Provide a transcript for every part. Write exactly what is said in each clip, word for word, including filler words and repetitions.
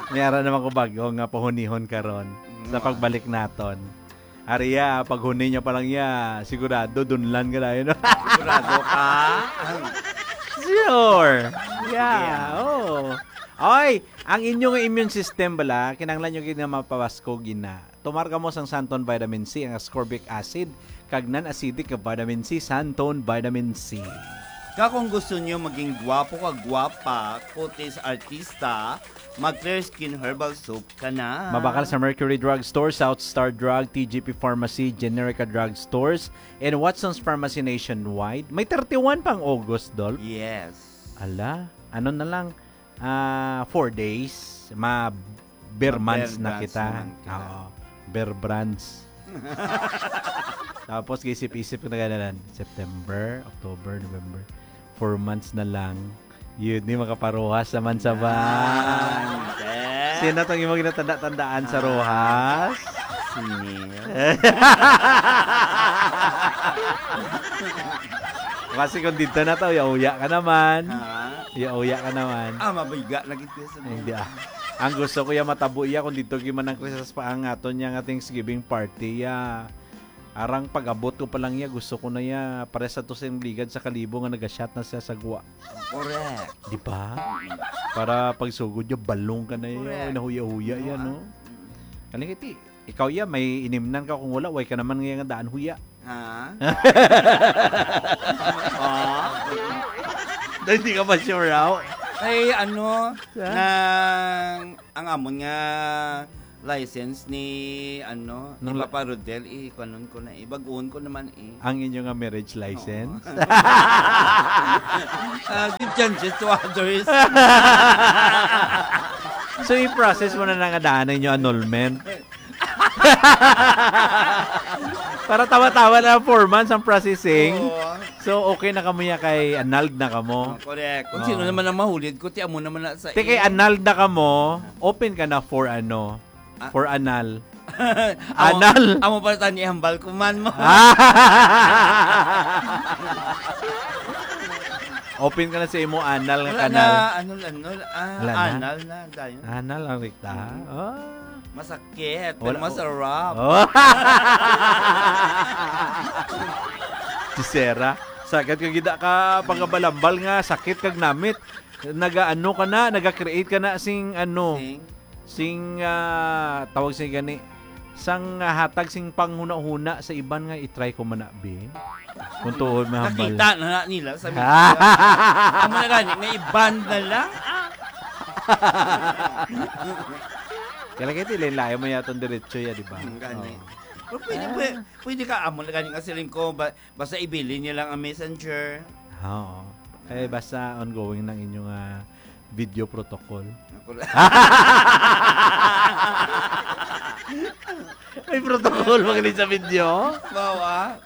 May ara naman ko bago nga pahunihon karon sa Mm. pagbalik naton. Ari ya, paghuni niya pa lang ya, sigurado dunlan ka na yun. Sigurado ka? Sure. Yeah, Sige, ah. Oo. Oy, ang inyong immune system bala, kinahanglan nyo gid nga mapabaskog gina. Tomar kamo sang Santon Vitamin C, ang ascorbic acid, kag non-acidic nga vitamin C, Santon Vitamin C. Ka kung gusto nyo maging gwapo kag gwapa, kutis artista, mag Clear Skin Herbal Soap ka na. Mabakal sa Mercury Drug Store, South Star Drug, T G P Pharmacy, Generica Drug Stores, and Watson's Pharmacy nationwide. May thirty-one pang August, Dol. Yes. Ala, ano na lang, ah, four days, ma-, ber months Ma-ber na months kita. Naman kita. Oo, ber brands. Tapos, isip-isip ko na ganalan, September, October, November. Four months na lang. Yun, di makaparuhas naman sa van. Yan, sir. Sino tong imong ginatanda-tandaan sa Ah. ruhas? Si Neil. Kasi kung dito na to, uya-uya ka naman. Ha? Uya-uya ka naman. Ah, mabiga na gid ko sa Hindi, ah. Ang gusto ko ya matabo iya kung dito gyud man ang Christmas pa ang aton niya nga Thanksgiving party ya. Arang pag-abot ko pa lang iya, gusto ko na iya, pares sa to sa iyang ligad sa kalibo nga nagashot na siya sa gwa. Correct. Di ba? Para pagsugod niya, balong ka na iya, Correct. nahuya-huya Oo, iya, ah. no? Mm. Kalingiti, ikaw iya, may inimnan ka kung wala, way ka naman nga daan huya. Ha? Ah? Dahil di ka pa sure, aw? Ay, ano, Sa? nang, ang amon nga license ni, ano, ni Nang li- Papa Rodel, eh, kuanon ko na, eh, bag-on ko naman, eh. Ang inyo nga marriage license? Oo. Ah, give chances to others. So, i-process mo na na nga daan ang inyo annulment? Para tawa-tawa na lang, four months ang processing. Oo. So, okay na kamo ya kay annulled na kamo. Oh, correct. Kung Oo. sino naman ang mahulid ko, ti amo naman na sa Ti kay i- annulled na kamo, open ka na for ano? Ah, For anal. amo, Anal. amo pala tani hambal ko man mo. Open ka na sa imo anal nga Wala kanal. na, anol, anol. Ah, Wala na? anal na, dayon. Anal ang rikta. Mm. Ah. Masakit, pero Wala, masarap. Oh. Chisera. Sagad ka gida ka pagabalambal nga sakit kag namit. Nagaano ka na, naga-create ka na sing ano, Sing? sing, ah, tawag sing gani, sang, ah, hatag sing panghuna-huna sa iban nga i-try ko man na, be. Kung tuod mahambal. Nakita na, na nila sa media. Amo na gani, may iban na lang. Ah. Kaya lagi, ti, lain-lain mo yatong diretso ya, di ba? Mm, gani. Oo. Pero pwede, Ah. pwede, pwede ka, amo na gani nga siling ko, ba, basta ibilin niya lang ang messenger. Oo. Eh, Ah. basta ongoing ng inyong, ah, video protocol. Ako na. May protocol ba gali sa video? Bawa.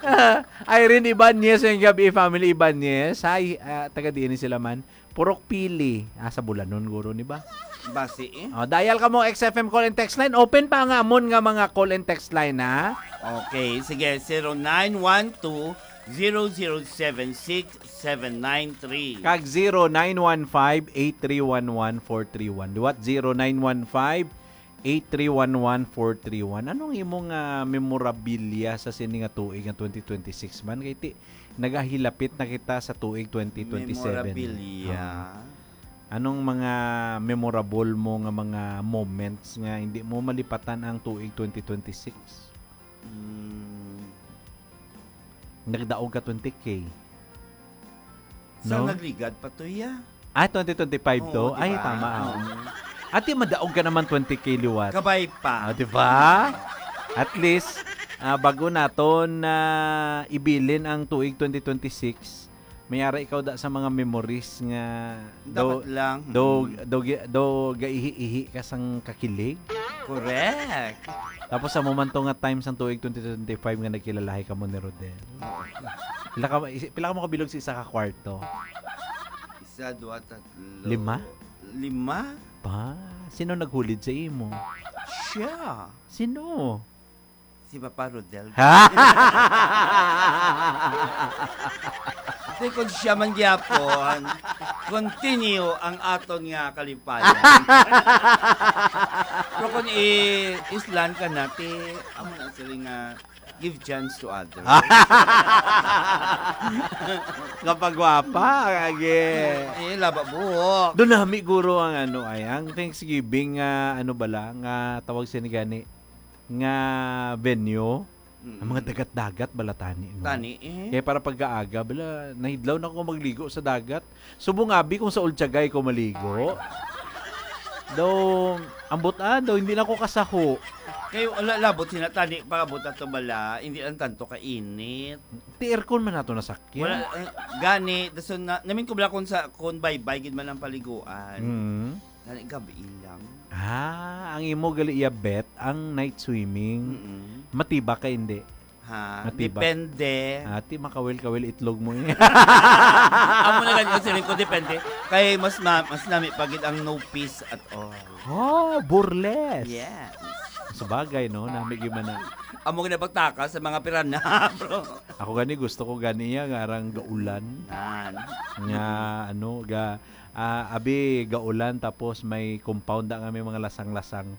Irene Ibanez, yung gabi, family Ibanez. Hi, ah, taga diin ni sila man. Purok Pili. Ah, sa Bulanon, guro, ni ba? Basi, eh. Oh, dial ka mo, X F M call and text line. Open pa nga amon nga mga call and text line, ha? Okay, sige, zero nine one two, zero zero seven six, seven nine three. Kag zero nine one five, eight three one one, four three one. Liwat, zero nine one five, eight three one one, four three one. Anong imong, ah, memorabilia sa sini nga tuig nga twenty twenty-six man? Kay ti, nagahilapit na kita sa tuig twenty twenty-seven. Memorabilia. Ah. Anong mga memorable mo nga mga moments nga hindi mo malipatan ang tuig twenty twenty-six? Mm. Nagdaog ka twenty K. Sa No? nagligad pa to, ya? Ah, twenty twenty-five Oo, to? di Ay, ba? tama, ah. Oo. Ate, madaog ka naman twenty K liwat. Kabay pa. Ah, di ba? At least, ah, bago naton na ibilin ang tuig twenty twenty-six, may ara ikaw da sa mga memories nga Dapat do, lang. do, Mm. do, gi-, do gaihi-ihi ka sang kakilig. Correct. Tapos sa momento nga time sang tuig twenty twenty-five nga nagkilalahi kamo ni Rodel. Pila ka, isi-, pila ka mo kabilog sa isa ka kwarto? Isa, dua, tatlo. Lima? Lima? Pa, sino naghulid sa imo? Siya. Sino? Si Papa Rodel. Kung siya man gyapon, continue ang aton nga kalipayan. Pero kung i-islan ka na, ti, amo na sila nga, give chance to others. Kapagwapa, agi. Eh, laba buhok. Doon nami guro ang ano ay ang Thanksgiving nga ano bala nga tawag sini gani nga venue. Mm. Ang mga dagat-dagat bala tani, no? Tani, eh. Kaya para pagkaaga, bala, nahidlaw na ko magligo sa dagat. Subong abi kung sa Ultiagay ko maligo. Daw, ambot ah, daw, hindi na ko kasaho. Kay wala labot sina tani, pagabot ato bala, hindi lang tanto kainit. Ti aircon man nato nasakyan. Wala, eh, gani, dason na, namin ko bala kung sa, kung baybay gid man ang paliguan. Mm. Gani, gabi lang. Ah, ang imo gali iya bet, ang night swimming. Mm-mm. Matibak ka hindi? Ha? Matibak. Depende. Ati, makawil-kawil itlog mo eh. Amo na gani ang siling ko, depende. Kay mas ma- mas nami pa gid ang no peace at all. Oh, burles. Yes. Sabagay, no? Nami gyud man na. Amo gid ang pagtaka sa mga pirana, bro. Ako gani, gusto ko gani iya nga arang gaulan. Nan. Nga, ano, ga, ah, abi, gaulan, tapos may compound na nga may mga lasang-lasang.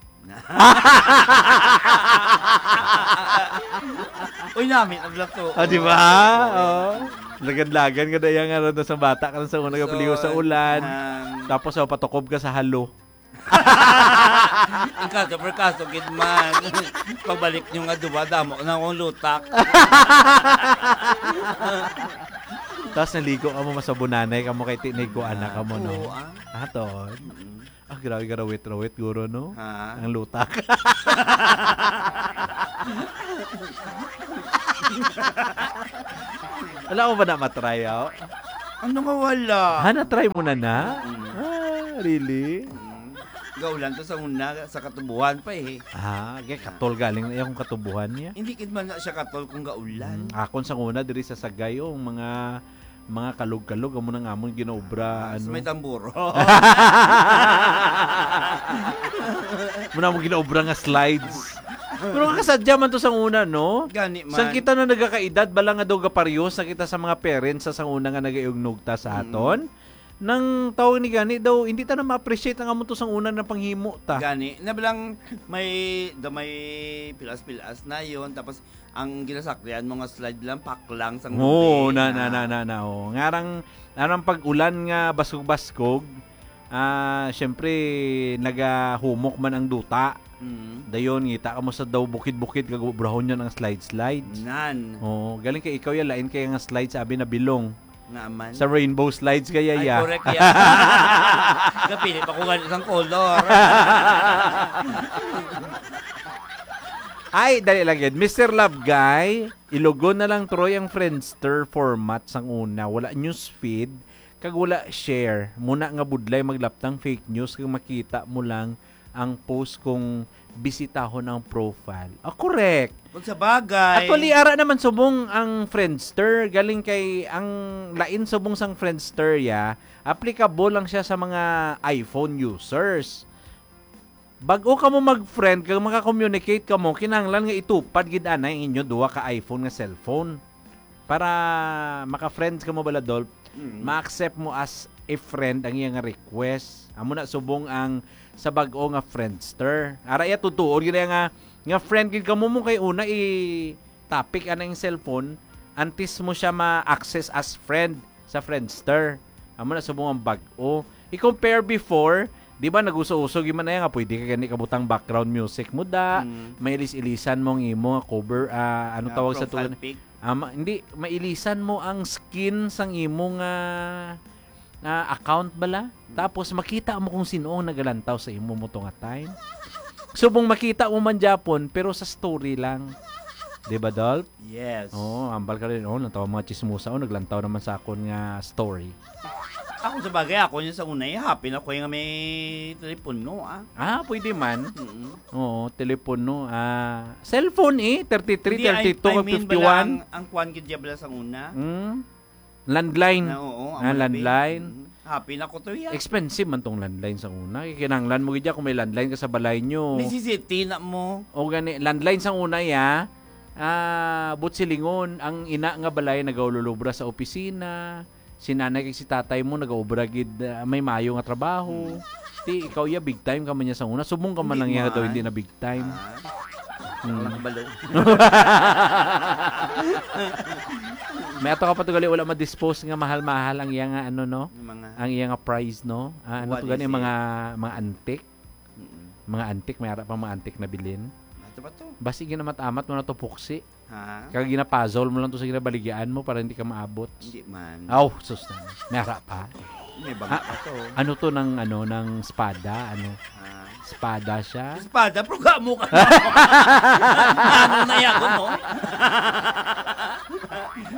Uy, nami ang blato. Ah, di ba? Oh. Lagan-lagan ka daya nga ron sa bata ka sa una nga paligo sa ulan. Ang Tapos oh, patukob ka sa halo. Ang kaso, per kaso, gid man. Pagbalik nyo nga duwa, damo na akong lutak. Tapos naligo ka mo, masabunanay ka mo kay tinig ko anak ka mo, no? Oo, ah. Aton. Mm. Ah, grabe ka rawit-rawit, guro, no? Ha? Ang lutak. Wala mo ba na matry, oh? Ano nga wala? Ha, na-try mo na na? Mm. Ah, really? Mm. Gaulan to sa una, sa katubuhan pa eh. Ah, kay katol galing na yung katubuhan niya. Hindi gid man na siya katol kung gaulan. Mm, akon sa una diri sa Sagay, oh, mga mga kalog-kalog amo nang amon ginaobra, Ah, sa ano. May tamburo. Muna mo ginaobra nga slides. Pero kasadya man to sang una, no? Gani man. Sang kita na nagakaedad, bala nga daw gaparyos na kita sa mga parents sa sang una nga nagaiugnog ta sa Mm. aton. Nang tawag ni gani daw, hindi ta na ma-appreciate ang amo to sang una na panghimo ta. Gani, na bilang may, da may pilas-pilas na yon, tapos ang ginasakyan mo nga slide lang, paklang sang Oo, tubig, na, na, na, na, na, oh. Ngarang, ngarang pag-ulan nga baskog-baskog, ah, syempre, nagahumok man ang duta. Mm. Dayon, ngita ka mo sa daw bukid-bukid, kag ubrahon yun ang slide-slides. Nan. Oo, galing kay ikaw yan, lain kay nga slides, abi na bilong. Nga man. Sa rainbow slides kaya Ay, ya. Correct ya. Kapili pa ko gani sang color. Ay, dali lang yun. Mister Love Guy, ilogon na lang, Troy, ang Friendster format sang una. Wala news feed, kag wala share. Muna nga budlay maglaptang fake news, kag makita mo lang ang post kung bisitahon ang profile. Ah, correct. Kung sa bagay. Actually, ara naman subong ang Friendster. Galing kay ang lain subong sang Friendster, ya, applicable lang siya sa mga iPhone users. Bag-o ka mo mag-friend, kag maka-communicate ka mo, kinahanglan nga itupad gid anay ang inyo duha ka iPhone nga cellphone. Para maka-friends ka mo bala, Dolph, Mm. ma-accept mo as a friend ang iya nga request. Amo na subong ang sa bag-o nga Friendster. Ara iya tutuon gid nga, nga friend gid ka mo, mo kay una i-topic ana ang cellphone antes mo siya ma-access as friend sa Friendster. Amo na subong ang bag-o. I-compare before, di ba, nag-uso-uso gyud man na nga pwede ka gani kabutang background music mo da, Mm. may ilis-ilisan mo ang imo nga cover, ah, ano Ah, tawag sa profile tugon? pic. Ah, ma- hindi, mailisan mo ang skin sang imo nga, nga account bala. Tapos makita mo kung sino ang nagalantaw sa imo mo to nga time. Subong makita mo man gyapon, pero sa story lang. Di ba, Dolph? Yes. Oo, ambal ka rin. Oh, natawa mga chismosa. Oh, naglantaw naman sa akon nga story. Ako sa bagay, ako niya sa una, eh, happy na ko yung may telepono, ah. Ah, pwede man. Mm. Oo, telepono. Ah, cellphone eh, thirty-three, Hindi, I- thirty-two, I mean, fifty-one. Bala ang, ang kwan gid diya bala sa una. Hmm? Landline. Na, oo, Ah, amo na, landline. babe. Mm. Happy na ko to, ya. Expensive man tong landline sa una. Kinahanglan mo gid kung may landline ka sa balay nyo. Necessity na mo. O gani, landline sa una, ya. Ah, buot silingon, ang ina nga balay nagaululubra sa opisina, si nanay kag si tatay mo nagaobra gid, ah, may mayo nga trabaho. Hmm. Ti ikaw ya big time ka man niya sa una, subong ka man Hindi lang niya daw man. Hindi na big time. Ah. Hmm. Wala kabalo. May ato ka pa to gali, wala ma-dispose nga mahal-mahal ang iya nga ano, no? Yung mga Ang iya nga prize, no? Ah, ano to What gani, is it? mga mga antique. Mm-mm. Mga antique, may ara pa mga antique na bilin. Ato ba to? Basi ginamat-amat mo na to, puksi. Ha? Kag ginapuzzle mo lang to sa ginabaligyaan mo para hindi ka maabot. Hindi man. Aw, sus na. May ara pa. May bangka Ah, to. Ano to ng, ano, ng spada? Ano? Ha? Spada siya? Espada, pero gamo ka na. Ano na yan, no?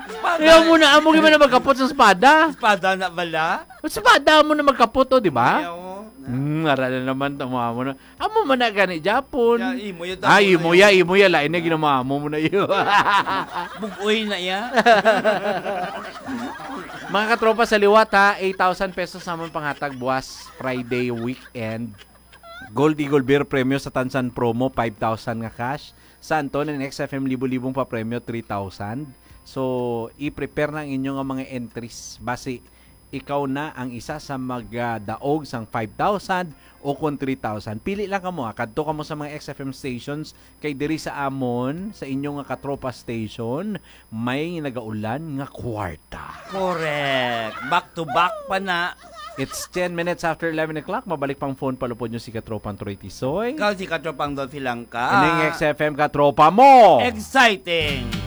Espada. Ayaw mo na, amo gyud man na magkapot sa espada. Espada na bala? Sa espada mo na magkapot, oh, di ba? Ayaw. Hmm, ara na naman, tama mo na. Amo man na gani, Japon. Ya, imo ya, Ah, Japon imo na ya, yan. imo ya, lain na Ah. ginamamo mo na iyo. Bugoy na iya. Mga katropa sa liwat, ha, eight thousand pesos naman panghatag buwas Friday weekend. Gold Eagle Beer Premyo sa Tansan Promo, five thousand nga cash. Sa Anton and X F M Libo-Libong pa Premyo, three thousand. So, i-prepare na ang inyo nga mga entries. Basi, ikaw na ang isa sa magdaog sang five thousand o kon three thousand. Pili lang kamo, ah. Kadto kamo sa mga X F M stations kay diri sa amon, sa inyo nga katropa station, may nagaulan nga kwarta. Correct. Back to back pa na. It's ten minutes after eleven o'clock. Mabalik pang phone palupod nyo si Katropang Troy Tisoy. Ikaw si Katropang Dolphy Langka. Ining X F M Katropa mo. Exciting.